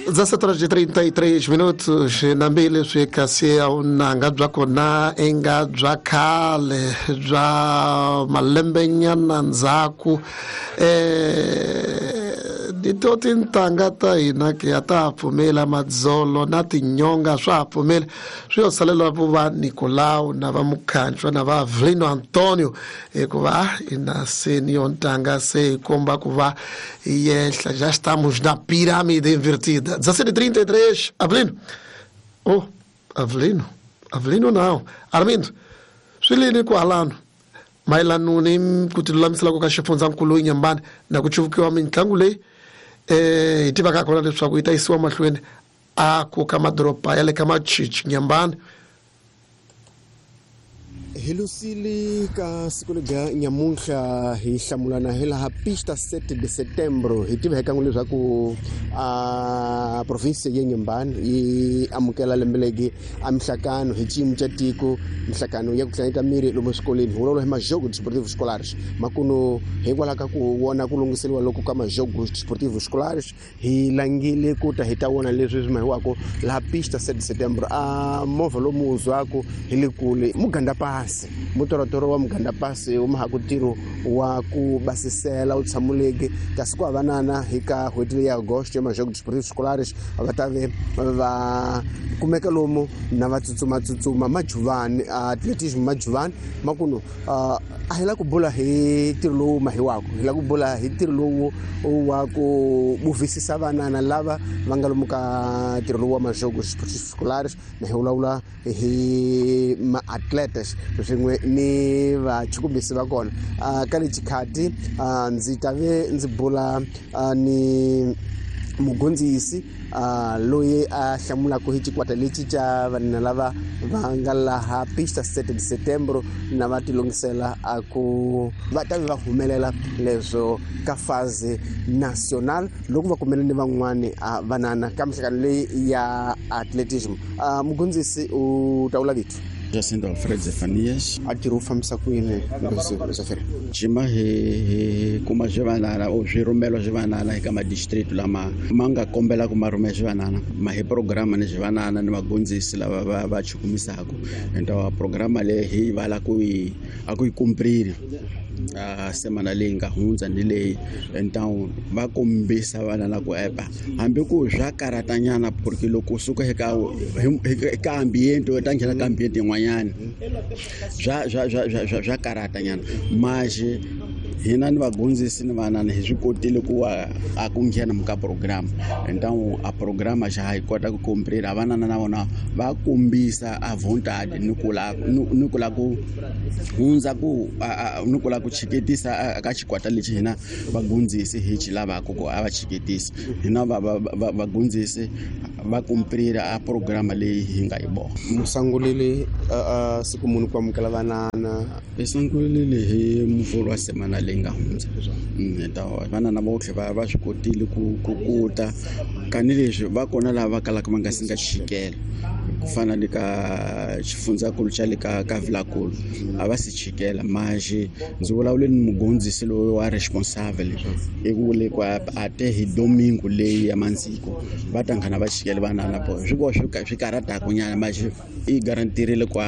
17:33 nambi leswi kasi a vunanga bya kona i nga bya khale bya malembenyana ndzhaku to tintangha ta hina ke a ta ha pfumela madzolo na tinyonga swa ha pfumela swi yo salela vo va Nicolau na va Mukhanchwa na va Avelino Antonio hikuva ina se ni yo ntanga se yi komba ku va yehla. Já estamos na pirâmide invertida. 17:33. Avelino, oh, Avelino, Avelino não, Armindo, swi lini kwalano mayelano ni ku tilulamisela ku ka xifundzankulu Inhambane na ku cuvukiwa mitlangu leyi hi tivaka kona leswaku yi ta yisiwa mahlweni a ku ka madoroba ya le ka Machichi Inhambane? Hi lusile ka siku lebya nyamuntlha hi hlamulana hi laha pista 7 de setembro. Hi tiva hi kan'we leswaku a province ya Inhambane yi amukela lembe legi a mihlakano hi xiyimo xa tiko, mihlakano ya ku tlangeta miri lomu swikolweni, hi vulavula hi majogo desportivo escolares. Makuno hikwalaho ka ku vona ku lunghiseriwa loko ka majogo desportivo escolares, hi langile ku ta hi ta vona leswi swi mahiwaka laha pista 7 setembro. A movha lomu wu zwaku hi le kule muganda pasi, mutorotoro wa muganda pasi wu mahaku ntirho wa ku basisela wu tshamuleke, kasi ku havanana hi ka n'hweti leyi ya agosto ya majogo desportivo escolares va ta ve va kumeka lomu na va tsutsumatsutsuma majuvani atletismo majuvani. Makuno a hi la ku bula hi ntirho lowu mahiwaka, hi la ku bula hi ntirho lowu wa ku buvisisa vanana lava va nga lomu ka ntirho lowu wa majogo escolares, na hi vulavula hi maatletes swin'we ni vachukumisi va kona. Ka le xikhati ndzi ta ve ndzi bula ni mugondzisi loyi a hlamulaka hi xikwata lexi xa vanhu lava va nga laha pista 7 de setembro na va tilungisela a ku va ta va humelela leswo ka phase national loko va kumele ni van'wani vanana ka mihlangano leyi ya atletism. Mugondzisi u ta vula vito? Jacinto Alfred Zefanias. A tirhi wu fambisa ku yini Zafiri? Jima hi kuma swivanana o swirhumelo swivanana eka madistrict lama ma nga kombela ku ma rhumela swivanana, ma hi programa ni swivanana ni vagondzisi lava va chukumisaka. Ento programa leyi hi vala ku yi a ku yi kumprile a semana leyi nga hundza ni leyi, então va kombisa vana la ku epa hambi ku swa karatanyana, porque loko u suka eka ambiente u ta nghena ka ambiente yin'wanyana swa karatanyana. Manje hina ni vagondzisi ni vanana hi swi kotile ku a ku nghena ka program, então a programa xa ha yi kota ku komprira vanana na vona va kombisa a vontade ni ku la ni ku la ku hundza ku ni ku la ku chiketisa ka xikwata lexi hina vagondzisi hi xi lavaka ku a va chiketisa. Hina vagondzisi va komprira a programa leyi hi nga yi vona. Musangulile siku muni ku amukela vanana? Hi sungulile hi muvhulu wa semana leyi nga hundza. Vanana votlhe va swi kotile ku kuta kanileswi va kona lava va kalaka va nga si nga chikela, ku fana ni ka xifundzankulu xa le ka Vilakulu a va si chikela. Manje ndzi vulavule ni mugondzisi loyi wa responsable i vule ku a te hi domingo leyi ya mandziko va ta nghena va chikela vanana po swi vo swi karataku nyana, manje i garantirile ku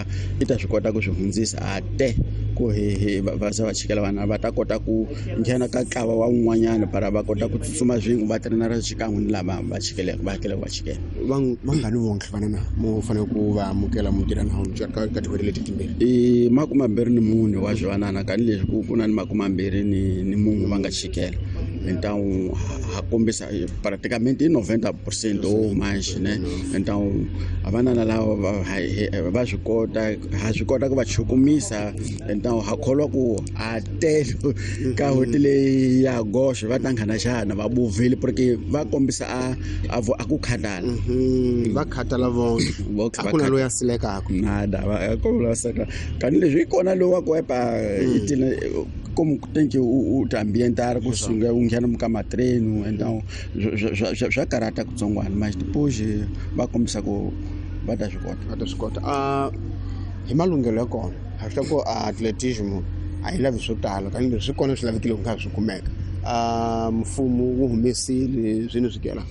i ta swi kota ku swi hundzisa a te ku hi va za va chikela vana va ta kota ku nghena ka ntlawa wa un'wanyana para va kota ku tsutsuma swin'we va trenara xikan'we ni lava va chikeleke va hakelaka va chikela. Vangani vonke vanana mo fanele ku va amukela mutirha na ka tin'hweti leti timbirhi? I 24 wa swivanana, kanileswi ku na ni 21 va nga chikela. Então ha kombisa praticamente i 90% o manje ne. Então vanana lava va swi kota, ha swi kota ku va chukumisa. Então ha kholwa ku a tele ka n'hweti leyi ya goxe va ta nghena xana va buvile, porque va kombisa a ku khatala. Va khatala vonke, a ku na loyi a silekaka nada, va ku seka kanileswi i kona loyi wa ku epa itina como tem que o ambientar ku sunga u nghena ka matreno. Então swa karata kutsongwana, mas depois va kombisa ku va ta swi kota. Va ta swi kota. Hi malunghelo ya kona ha swi ku atletism a yi lavi swo tala, kanileswi swi kona swi lavekile ku nga swi kumeka. Mfumo wu humesile swini swikela?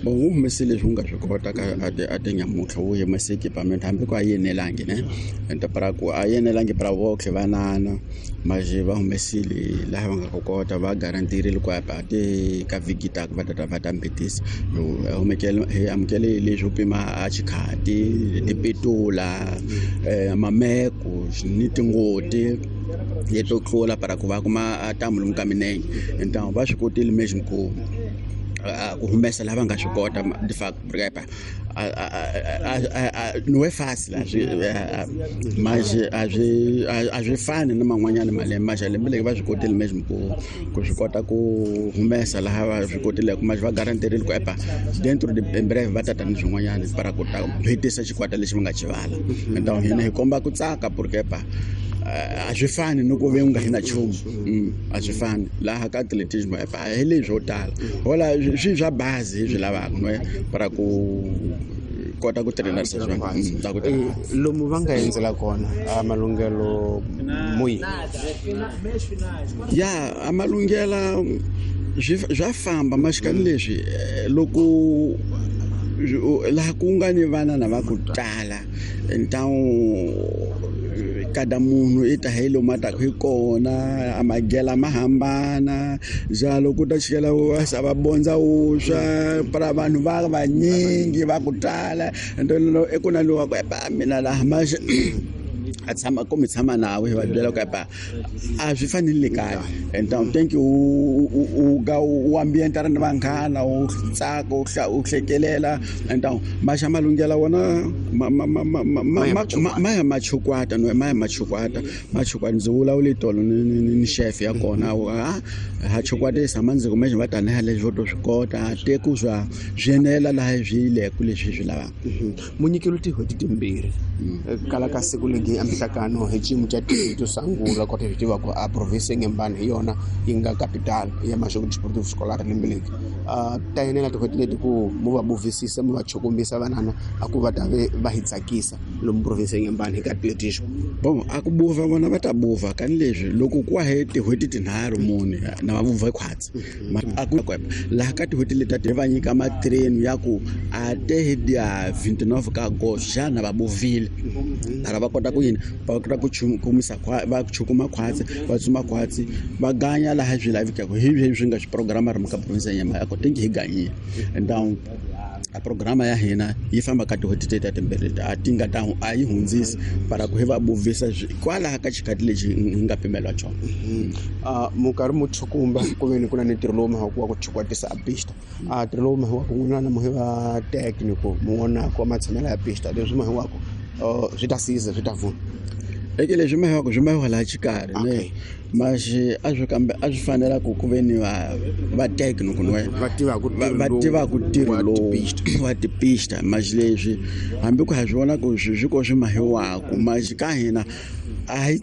Bon, wu humesile leswi wu nga swi kota ka a tinyamutlha, wu humese equipment hambi ku a yi enelangi ne, ende para ku a yi enelangi para votlhe vanana, maje va humesile laha va nga ku kota, va garantirile ku a ti ka vhiki taka va tata va ta mbitisa. Hi amukele leswo pima a xikhati, tipetula, mameko ni tingoti leto tlula para ku va kuma a ntamu lomu ka minenge. Então va swi kotile mesmo ku humesa lava nga swi kota. De facto não é fácil, mas a swi fani na man'wanyana malembe, mas lembe leri va swi kotile mesmo ku swi kota ku humesa laha va swi kotileke, mas va garantirile ku epa dentro de em breve va tata ni swin'wanyana para ku ta hetisa xikwata lexi va nga xivala. Então hina hi komba ku tsaka porque epa a swi fani ni ku ve u nga hi na nchumu, a swi fani laha ka atletismo, epa hi leswo tala hola swi swa bazi hi swi lavaka no para ku kota ku trainarisa swona. Lomu va nga endzela kona a malunghelo muyi? Ya, a malunghela swa famba maxikani leswi loko laha ku nga ni vana na va ku tala, então kada munhu i ta hi lomu a taka hi kona, a magela ma hambana njalo, ku ta chikela va bondza wuswa para vanhu va vanyingi va ku tala, i ku na lowa ku epa mina laha maxe a tshama ku mi tshama nawe, hi va byela ku epa a swi fanele kaya. Então thank you, u ga u ambientara ni vanghana, u tsaka, u hlekelela. Então maxa malunghela wona ma ya machukwata no ma ya machukwata machukwata. Ndzi vulavule tolo ni chef ya kona, ha chukwatisa mandzi kumbe va tanihi leswi vo to swi kota teku swa swi enela laha swi leku leswi swi lavaka. Munyikelo tin'hweti timbirhi kala ka siku legi a mihlakano hi xiyimo xa to sungula kota hi tiva ku a province Inhambane hi yona yi nga capital ya Maxoko Desportivo Escolar lembe leri. Ta enela tin'hweti leti ku mu va buvisisa, mu va chukumbisa vanana a ku va ta ve va hi tsakisa lomu province Inhambane hi ka atletismo? Bon, a ku buva vona va ta buva kani leswi loko ku wa he tin'hweti tinharhu mune na va vuva khwatsi a ku laha ka tin'hweti leti va nyika matrain ya ku a te dia 29 ka agosto xana va buvile para va kota ku yini, va kota ku chukumisa va chukuma khwatsi, va tsuma khwatsi, va ganya laha swi lavekaka hi leswi nga swi programa ri ka province ya Nyamata ko tinki hi ganyile. Então a programa ya hina yi famba ka tin'hweti teta timbirhi a ti nga ta a yi hundzisi para ku hi va buvisa kwalaha ka xikhathi lexi hi nga pimeliwa xona. Minkarhi mo chukumba ku ve ni ku na ni ntirho lowu mahaku wa ku chukwatisa a pista, a ntirho lowu mahiwaku n'wina na muhi va technical mu vonaka matshamelo ya pista leswi mahiwaku swi ta siza swi ta vuna eke leswi mahiwaku swi mahiwa laha xikarhi ne maxi a swi kambe a swi fanela ku ve ni va technical va tivaka ntirho lowu wa tipista, maxi leswi hambi ku ha swi vona ku swi ko swi mahiwaku maxi ka hina a hi.